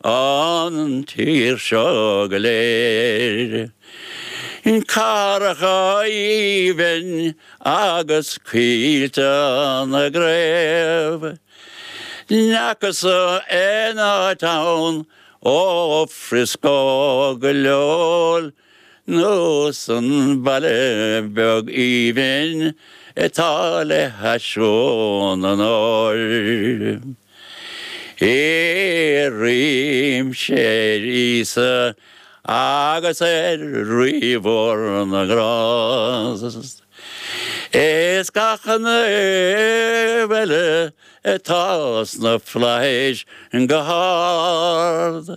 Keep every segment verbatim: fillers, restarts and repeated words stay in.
An tír seo go léir. Cathracha aoibhinn agus coillte na gcraobh. N'fheacas-sa aon áit ann ó Frisco go Lowell nós an baile beag aoibhinn atá le hais Dhún an Óir. Iarraimse ar Íosa agus ar Rí mhór na nGrást. Is gach naomh eile atá sna flaithis go hard.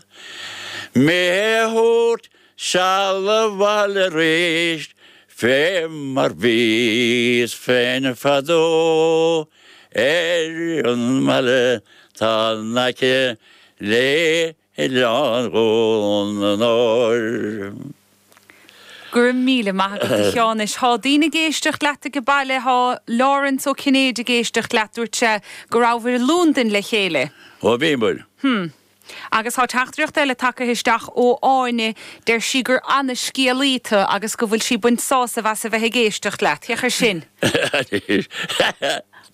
Mé a thabhairt seal abhaile arís fé mar bhíos féin fadó ar an mbaile tá in aice le hOileán Dhún an Óir. Go raibh míle maith agat a Sheánuis. Tá daoine ag éisteacht leat ag baile tá Lawrence Ó Cinnéide ag éisteacht leat dúirt sé go raibh i Londain le chéile. Ó bhíomar. Hmm. Agus tá teachtaireacht eile tagtha isteach ó Áine deir sí gur an-scéalaí tú agus go bhfuil sí ag baint sásamh as a bheith ag éisteacht leat, Féach air sin.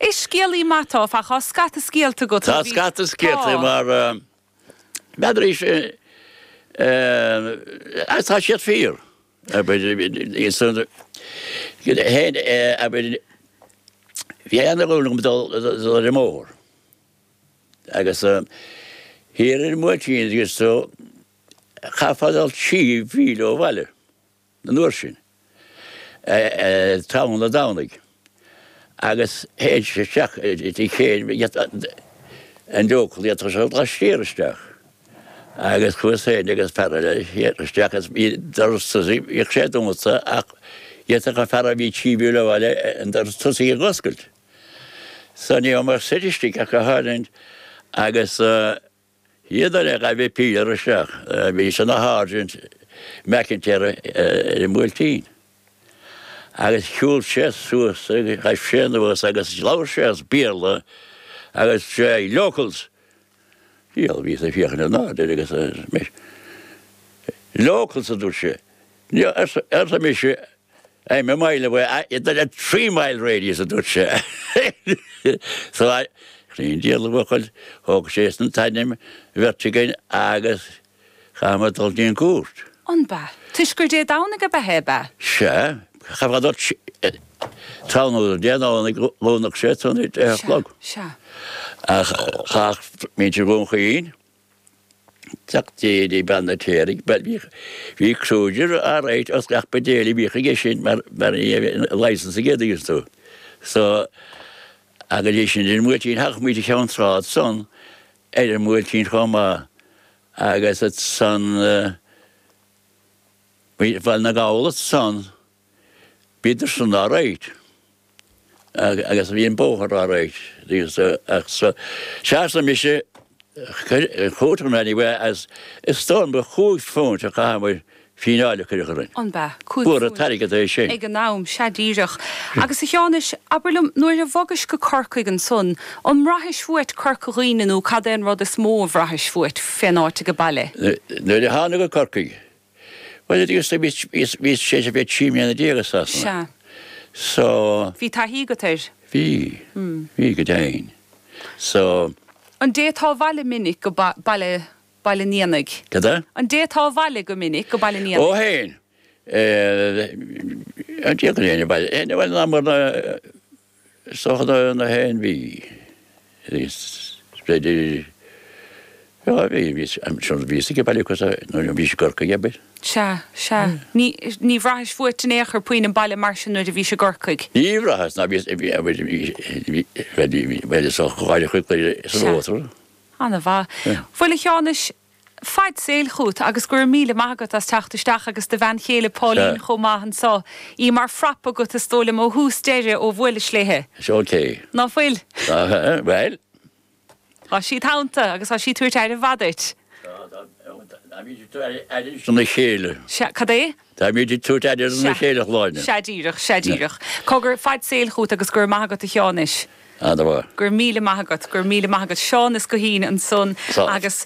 Is scéalaí maith tú fá tá scata scéalta agat Tá scata scéalta mar b'fhéidir tá siad fíor. Bhí an dul ar an mbóthar. Agus thiar ar an mBuailtín agus so chaithfeá dul trí mhíle ó bhaile an uair sin tráthnóna Domhnaigh agus théid sé isteach chéad an local tá sé laistiar isteach. Agus chuas féin agus fear eile isteach agus bhí doras tosaigh bhíodh sé dúnta ach d'fhéadfadh an fear a bhí trí mhíle ó bhaile an doras tosaigh a oscailt. So ní raibh mar suite istigh ach go háirithe agus iad eile ghaibh pílear isteach bhí sé ina sháirsint McIntyre ar an mBuailtín. Agus shiúil sé suas agus ghaibh sé anuas agus labhair sé as Béarla agus sé locals. Diabhal bhíos ag féachaint in airde agus locals a dúirt sé. Arsa mise I'm a mile away, a three mile radius a dúirt sé. So chríon diabhal buachaill thóg sé san t-ainm bheirt againn agus chaithfear dul dtí an cúirt. An ba? Toisc gur Dé Domhnaigh a bheith é ba? Sea, chaithfear dul tráthnóna Dé Domhnaigh dhúnadh sé san a deich a chlog. Sea. Ach chaith muintir Dhún Chaoin teacht dé bean na téirigh, bhí bhí cruiser alright os gach buidéal a bhíodh aige sin mar mar licence aige dtuigeann tú. So agus é sin ar an mBuailtín thagadh muid a Cheann Trá san ar an mBuailtín chomh maith agus san Bhaile na Gall san bhíodar san alright agus bhí an bóthar alright ach so seasa mise chúirt anyway as is dóigh ba chúig phunt a chaitheamar fíneáil a cuireadh orainn. An ba? Cúig Fuair an phunt. t-airgead é sin. Ag an am, sea díreach. Agus a Sheánuis, abair liom, nuair a bhogais go Corcaigh ansan, an mbraithis uait Corca Dhuibhne nó cad é an rud is mó a bhraithis uait fén áit ag baile? Nuair a tháinig go Corcaigh, well agus bhí bhí sé sé bhí trí mbliana déag i Sasana. Sea. So Bhí taithí agat air? bhí, bhí go deimhin. So An dtéiteá abhaile minic go ba- baile Baile an Éanaigh? Cad é? An dtéiteá abhaile go minic go Baile an Ó Éanaigh? féin an dté go léine baile aon bhaile ná mar na socha na na haon mhí. Is b'fhéidir já bhí bhí sin bhí ag baile cos nuair a bhí sé i gCorcaigh abair. Sea, sea. Ní ní bhraithis uait in aon chor puinn an baile mar sin nuair a bhís i gCorcaigh? Ní bhraitheas ná bhí bhí bhí bhí bhí bhí is ó gháire chuig san Sea. bhóthar. An-mhaith. Bhuel a Sheánuis, fad saoil chugat agus go raibh míle maith agat as teacht isteach agus do bhean chéile Pauline Sea. chomh maith anseo. Í mar phrap agat is dóigh liom ó thús deireadh ó bhuailis léithe. Is okay. Ná fuil? Well. Tá sí ionta agus tá sí ag tabhairt aire mhaith duit. Táimid ag tabhairt aire dona chéile. Sea, cad é? Táimid ag tabhairt aire dona Sea. chéile Shláine. Sea díreach, sea díreach. Cogar, fad saoil chugat agus go raibh maith agat a Sheánuis. Ana-mhaith. Go raibh míle maith agat, go raibh míle maith agat. Seán Ó Guithín ansan agus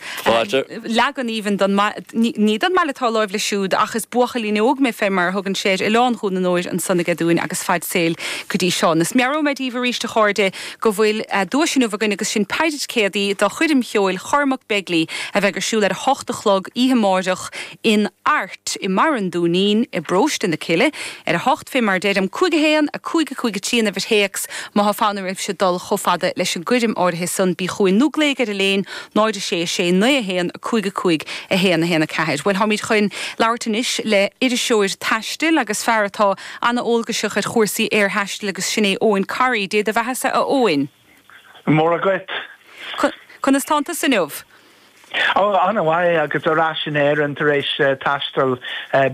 leagan aoibhinn don ní don mbaile atá láimh leis siúd ach is buachaillín óg mé fé mar a thugann sé air Oileán Dhún an Óir ansan aige dúinn agus fad saoil go dtí Seán. Is meabhróidh mé daoibh arís a chairde go bhfuil duais inniu againn agus sin paid ticéadaí do choirm cheoil Chormac Begley a bheidh ar siúl ar a hocht a chlog oíche amárach in Art i mBarra an Dúinín i bParóiste na Cille ar a hocht fé mar deirim cúig a haon a cúig a cúig a trí an uimhir théacs má thá fonn oraibhse dul chomh fada leis an gcoirm áirithe san bí chugainn nó glaoigh ar an léin náid a sé a sé naoi a haon a cúig a cúig a haon a haon a ceathair. Bhuel táimid chun labhairt anois le iriseoir taistil agus fear atá an-eolgaiseach ar chúrsaí aerthaistil agus sin é Eoin Corry, Dé do bheathasa a Eoin. Móra dhuit. Conas tánn tusa inniu? Ó an-mhaith agus ar ais in Éirinn tar éis taisteal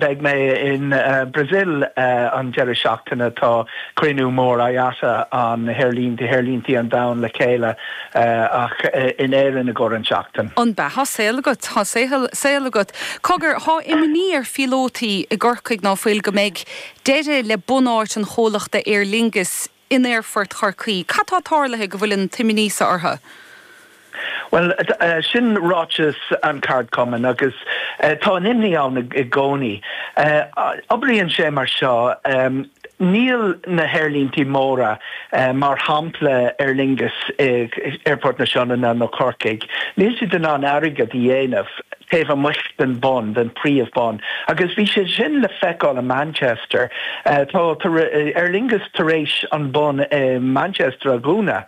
beidh mé in Brazil an deireadh seachtaine tá cruinniú mór IATA an haerlínte haerlínte an domhain le chéile ach in Éirinn i gcomhair an seachtain. An bea thá saol agat thá saol agat. Cogar thá imní ar phíolótaí i gCorcaigh ná fuil go mbeidh deireadh le bunáit an chomhlachta Aer Lingus in Aerfort Chorcaí. Cad tá tarlaithe go bhfuil an t-imní seo orthu? Well sin ráiteas an cheardchumainn agus tá an imní ann i gcónaí. Oibríonn sé mar seo níl na haerlínte móra mar shampla Aer Lingus Aerfort na Sionainne nó Corcaigh. Níl siad in ann airgead a dhéanamh taobh amuigh den bun den príomhbun agus bhí sé sin le feiceáil i Manchester tá Aer Lingus tar éis an bun i Manchester a dhúnadh.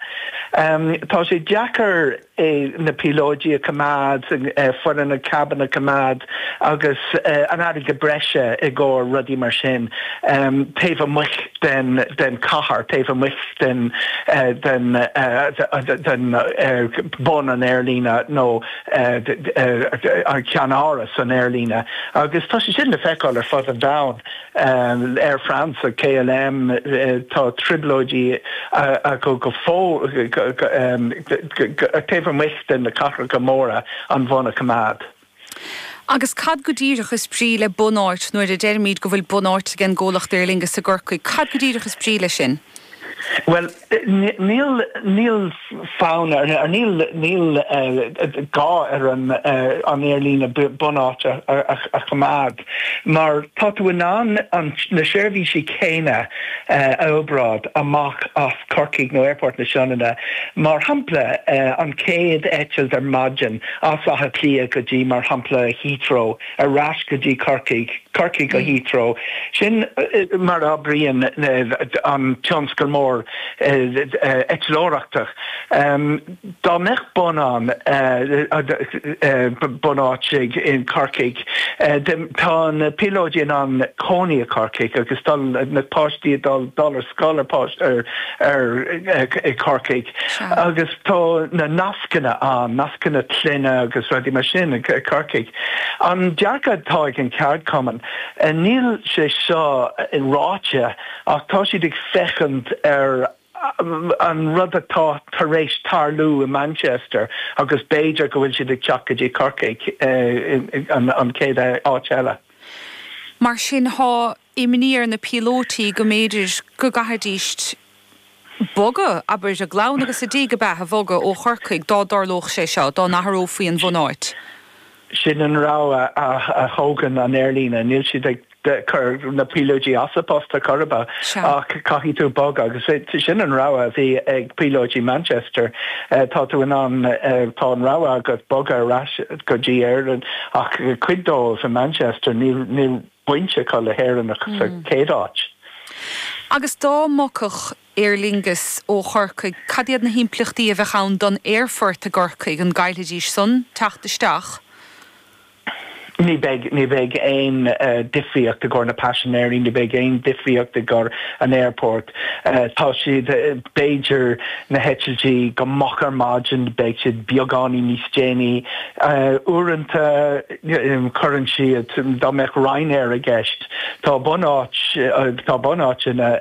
Tá sé deacair na píolóidí a choimeád foireann na cabin a choimeád agus an airgead breise i gcomhair rudaí mar sin taobh amuigh den den chathair taobh amuigh den den den bun an aerlíne nó an ceannáras an aerlíne agus tá sé sin le feiceáil ar fud an domhain Air France a KLM tá trioblóidí acu go fó taobh amuigh den na cathracha móra an bhun a choimeád. Agus cad go díreach is brí le bunáit nuair a deirimid go bhfuil bunáit ag an gcomhlacht Aer Lingus i gCorcaigh, cad go díreach is brí leis sin? Well níl níl fonn ar níl níl gá ar an an aerlíne bunáit a choimeád mar tá tú in ann an na seirbhísí céanna a oibreáil amach as Corcaigh nó Aerfort na Sionainne mar shampla an chéad eitilt ar maidin as Áth Cliath go dtí mar shampla Heathrow ar ais go dtí Corcaigh Corcaigh go Heathrow sin mar a oibríonn an tionscal mór eitleoireachta. Dá mbeadh bun ann bunáit in Corcaigh tá na píolóidí in ann cónaí i Corcaigh agus dul na páistí dul dul ar scoil ar ar ar i Corcaigh agus tá na nascanna ann nascanna clainne agus rudaí mar sin i Corcaigh. An dearcadh atá ag an cheardchumann níl sé seo ráite ach tá siad ag féachaint ar an rud atá tar éis tarlú i Manchester agus b'fhéidir go bhfuil siad ag teacht go dtí Corcaigh an an chéad áit eile. Mar sin thá imní ar na píolótaí go mb'fhéidir go gcaithfidís bogadh abair a gclann agus a dtig ab ea a bhogadh ó Chorcaigh dá dtarlódh sé seo dá n-athrófaí an bhunáit. Sin an rogha a thógann an aerlíne, níl siad ag cur na píolóidí as a bpost ar chor ar bith ach caithfidh tú bogadh agus sin an rogha a bhí ag píolóidí Manchester. Tá tú in ann tá an rogha agat bogadh ar ais go dtí Éirinn ach cuid dóibh i Manchester níl níl baint acu le hÉirinn ach sa chéad áit. Agus dá mbogfadh Aer Lingus ó Chorcaigh, cad iad na himpleachtaí a bheadh ann don aerfort i gCorcaigh, an gcaillfidís san teacht isteach? Ní bheidh ní bheidh aon difríocht i gcomhair na paisinéirí, ní bheidh aon difríocht i gcomhair an airport. Tá siad b'fhéidir na heitiltí go moch ar maidin, beidh siad beagáinín níos déanaí. Uaireanta cuireann siad dá mbeadh Ryanair i gceist, tá bunáit tá bunáiteanna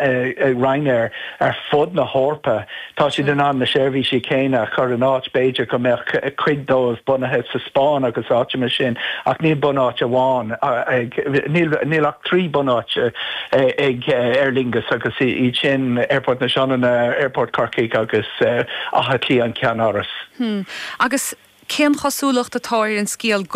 Ryanair ar fud na hEorpa. Tá siad in ann na seirbhísí céanna a chur in áit b'fhéidir go mbeadh cuid dóibh bunaithe sa Spáinn agus áiteanna mar sin ach níl bunáit amháin níl níl ach trí bunáit ag Aer Lingus agus iad sin Airport na Sionainne Airport Corcaigh agus Áth Cliath an ceannáras. Hmm. Agus cén chosúlacht atá ar an scéal go